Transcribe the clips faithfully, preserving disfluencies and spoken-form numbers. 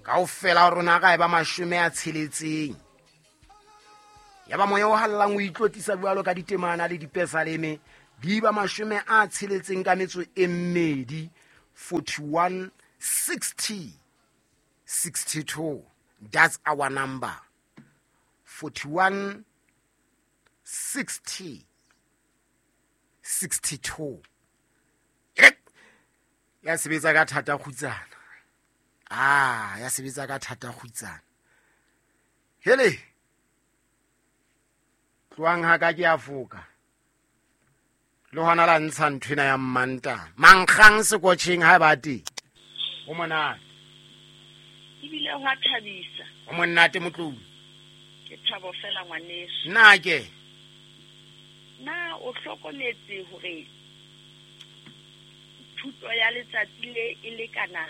Kaofela rona ka e ba mashome a tsheletseng. Ya ba moya o hallang o itlotlisa jwalo ka ditemana le dipesaleme di ba mashome a tsheletseng ka metso e mmedi, forty-one sixty sixty-two. That's our number. forty-one sixty sixty-two. Ya sebetsa ka thata kgutsana. Ah, ya sebetsa ka thata kgutsana. Hele. Tloang ha ka ke a foka. Le hona la ntsha nthwena ya mmanta. Mankgang sekotjheng ha ba teng. O monate. Ebile ho a thabisa. O monate motlou. Ke thabo fela ngwaneso. Nna ke. Na o hlokometse hore thuto ya letsatsi le e lekana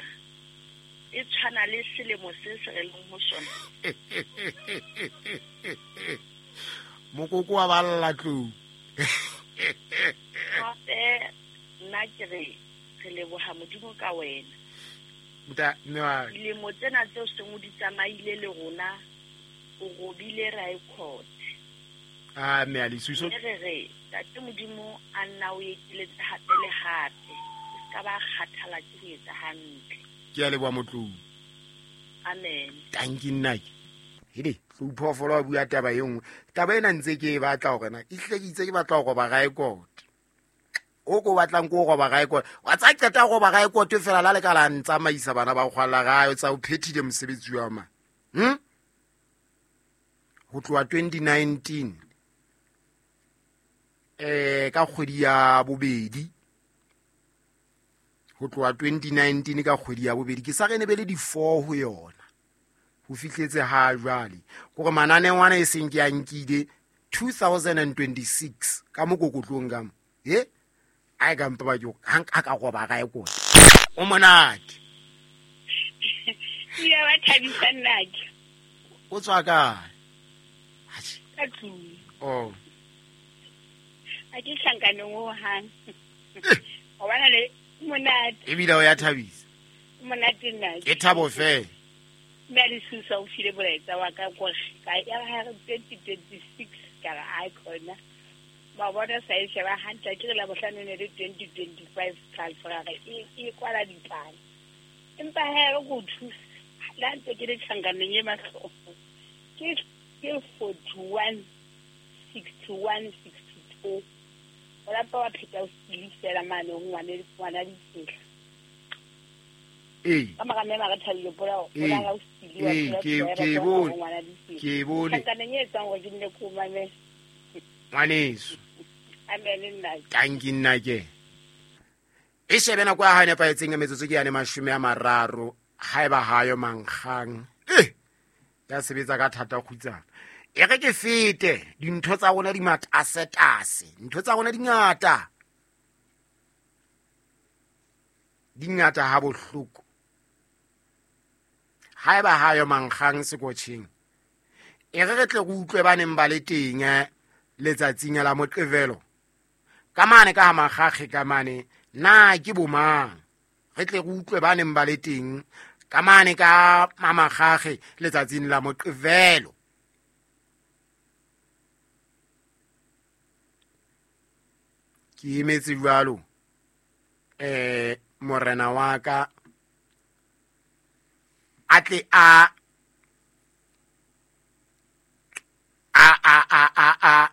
e tshwana le selemo se se re leng ho sona? Mokoko wa balla tlou. Hape nna ke re re leboha Modimo ka wena. Nta mme wa dilemo tsena tseo seng o di tsamaile le rona o robile record. Ah mme a lisuso. Re re tate Modimo a nna o ekeletse hape le hape. Ka ba kgathala ke ho etsa hantle. Ke a leboha motlou. Amen. Thank you nna. Hele, tlou phoofolo wa bua taba e nngwe. Taba ena ntse ke e batla hore na e hle ke itse ke batla ho roba record. O ko batlang ko roba record. Wa tsa qeta ho roba record fela la le ka la ntsamaisa bana ba kgwalla gae o tsa o phethile mosebetsi wa ma. Hm? Ho tloha twenty nineteen. Eh ka kgwedi ya bobedi. Ho tloha twenty nineteen ka kgwedi ya bobedi ke sa re ne be le di four ho yona. Ho fihletse ha jwale hore mananeo ana e seng ke a nkile two thousand twenty-six ka mokokotlong ka mo. He? A ka mpa ba jo ha ka roba ga e kone. O monate. Ya ba thabisa nna ke. O tswa kae? Ka tlung. Oh. A ke hlankaneng ho hang. O bana le monate. Ebile o ya thabisa. Monate nna. Ke thabo fela. Mme a Lesusa o file molaetsa wa ka kore ka ya ha twenty twenty-six ka re a khona. Ba bona sa e sheba hantle ke re la bohlano ne le twenty twenty-five transfer re e e kwala dipalo. Empa ha re go thusa la ntse ke le tjhankaneng e mahloko. Ke ke forty-one sixty-one sixty-two. O la pa wa pheta o fela mane ho ngwane ngwana ditsela. Eh. Ka mara me mara thabile pola o la ga o stili wa ke ke bone ke bone tjhankaneng e etsang hore ke nne ko mame. Ngwaneso. Amen nna. Thank you nna ke. E shebe nako ya hae nepahetseng ya metsotso ke yane mashome a mararo haeba hayo mankgang. Eh. Ya sebetsa ka thata kgutsana. E re ke fete dintho tsa rona di matasetase. Ntho tsa rona di ngata. Di ngata ha bohloko. Haeba hayo mankgang sekotjheng. E re re tle re utlwe ba neng ba le teng letsatsing la Moqebelo. Ka mane ka ha makgakge ka mane na ke bomang. Re tle re utlwe ba neng ba le teng ka mane ka makgakge letsatsing la Moqebelo. Ke emetse jwalo eh morena wa ka a tle a a a a a a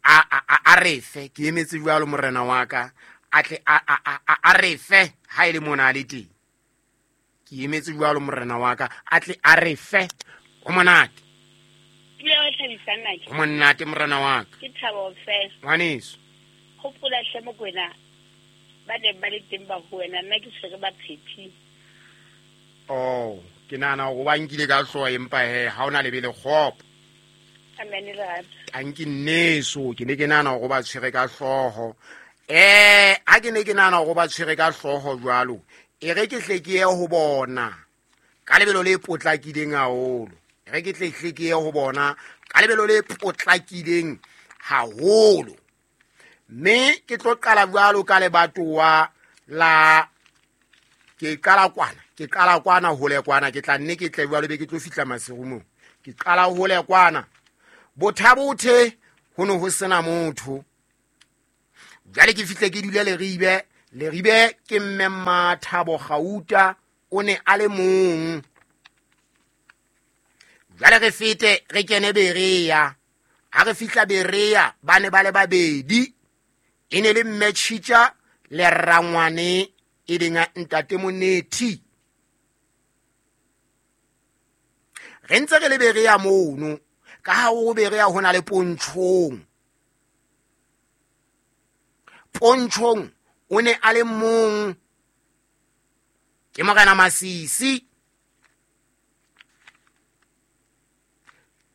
a a a refe. Ke emetse jwalo morena wa ka a tle a a a a refe ha ile mona le teng. Ke emetse jwalo morena wa ka a tle a refe. O monate. Ebile wa thabisa nna ke. O monate morena wa ka. Ke thabo fela. Ngwaneso. Hopola hle Mokwena ba ne ba le teng ba ho wena nna ke tshwere ba phethi. Oh, ke nahana hore ba nkile ka hlooho empa he ha ona lebe le kgopo. Amen lerato. Tanki nneso ke ne ke nahana hore ba tshwere ka hlooho. Eh, ha ke ne ke nahana hore ba tshwere ka hlooho jwalo. E re ke hle ke ye ho bona ka lebelo le potlakileng haholo. E re ke tle hle ke ye ho bona ka lebelo le potlakileng haholo. Mme ke tlo qala jwalo ka lebatowa la Ke qala kwana, ke qala kwana hole kwana, ke tla nne ke tle jwalo be ke tlo fihla Maseru moo. Ke qala hole kwana. Bothabothe ho no ho sena motho. Jwale ke fihle ke dule Leribe, Leribe ke mme Mmathabo Gauta o ne a le mong. Jwale re fete re kene Berea. Ha re fihla Berea ba ne ba le babedi. E ne le mme Tjhitja le rangwane e leng ntate Monethi. Re ntse re le Berea mono, ka ha ho Berea ho na le Pontshong. Pontshong o ne a le mong, ke Morena Masisi.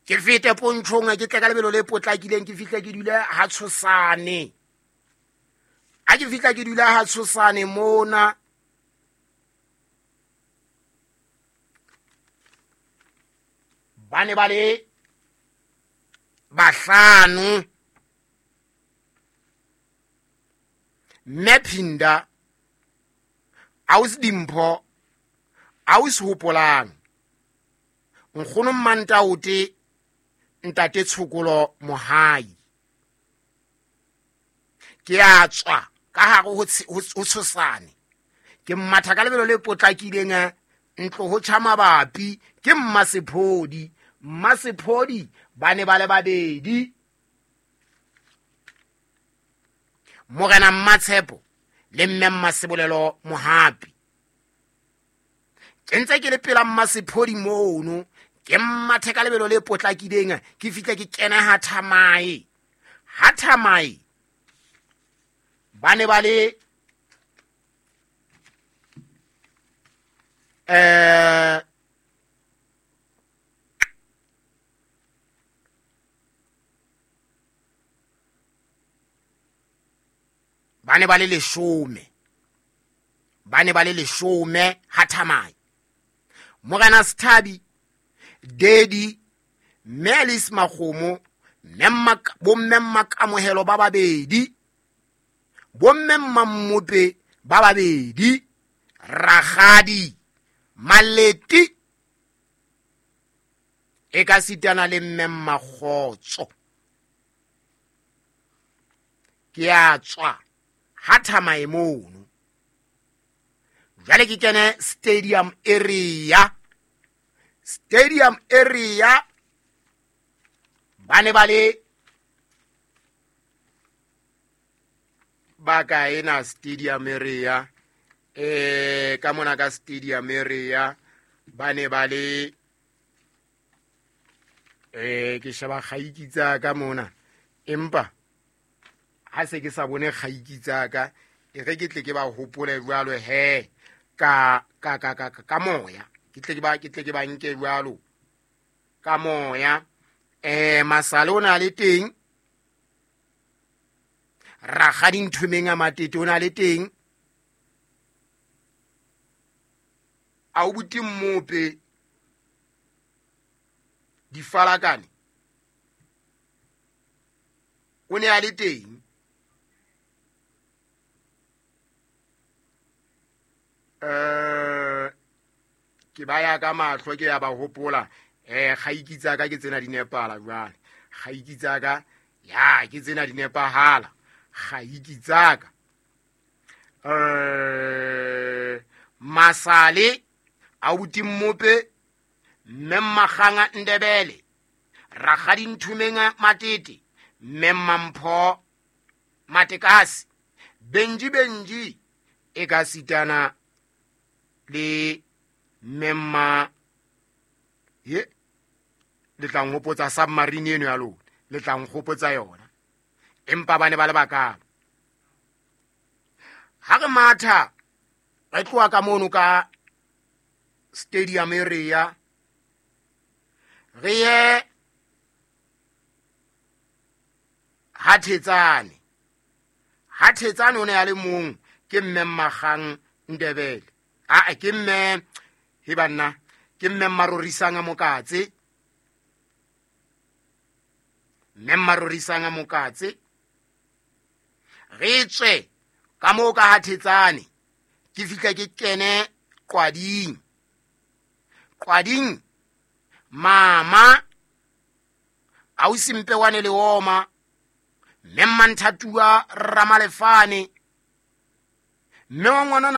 Ke fete Pontshong ke tle ka lebelo le potlakileng, ke fihle ke dule ha Tshosane. Ha ke fihla ke dula ha Tshosane mona, ba ne ba le bahlano. Mme Phinda, ausi Dimpho, ausi Hopolang, nkgono Mmantaote, ntate Tshokolo Mohai. Ke a tswa ka hare ho Tshosane, ke mmatha ka lebelo le potlakileng, ntlo ho tjha mabapi ke Mmasephodi. Mmasephodi ba ne ba le babedi, Morena Mmatshepo le mme Mmasebolelo Mohapi. Ke ntse ke le pela Mmasephodi mono, ke mmathe ka lebelo le potlakileng, ke fihle ke kene ha Thamae. Ha Thamae ba ne ba le eh ba ne ba le leshome, ba ne ba le leshome ha Thamae. Morena Sethabi, Dedi, Melis Makgomo, mme bomme Mmakamohelo ba babedi, bomme Mmamope ba babedi, Rakgadi Maleti e ka sitana le mme Mmakgotso. Ke a tswa ha Thamae mono. Jwale ke kene stadium area. Stadium area ba ne ba le ba kae na stadium area? Eh ka mona ka stadium area ba ne ba le eh ke sheba kgaiki tsa ka mona, empa ha se ke sa bone kgaiki tsa ka, e re ke tle ke ba hopole jwalo he ka ka ka ka ka moya, ke tle ke ba ke tle ke ba nke jwalo ka moya. Eh Masale o na le teng, Rakgadi Nthomeng a Matete o na le teng, a o buti Mmope Difalakane o ne a le teng. Eh ke ba ya ka mahlo ke ya ba hopola. Eh kgaiki tsa ka ke tsena di nepala jwale, kgaiki tsa ka ya ke tsena di nepahala kgaiki tsa ka. Eh Masale a buti Mmope, mme Mmakganga Ndebele, Rakgadi Nthomeng Matete, mme Mmampho Matekasi, Benji Benji e ka sitana le mme Mma ye le tla nkgopotsa submarine eno ya lona, le tla nkgopotsa yona. Empa ba ne ba le bakalo. Ha re matha re tloha ka mono ka stadium area re ye ha Thetsane. Ha Thetsane o ne a le mong, ke mme Mmakgang Ndebele, a ke mme he banna, ke mme Mmarorisang Mokatse, mme Mmarorisang Mokatse. Re tswe ka moo ka ha Thetsane, ke fihla ke kene Qwading. Qwading mama ausi Mpewane le oma mme Mmanthatuwa Ramalefane mme wa ngwanana.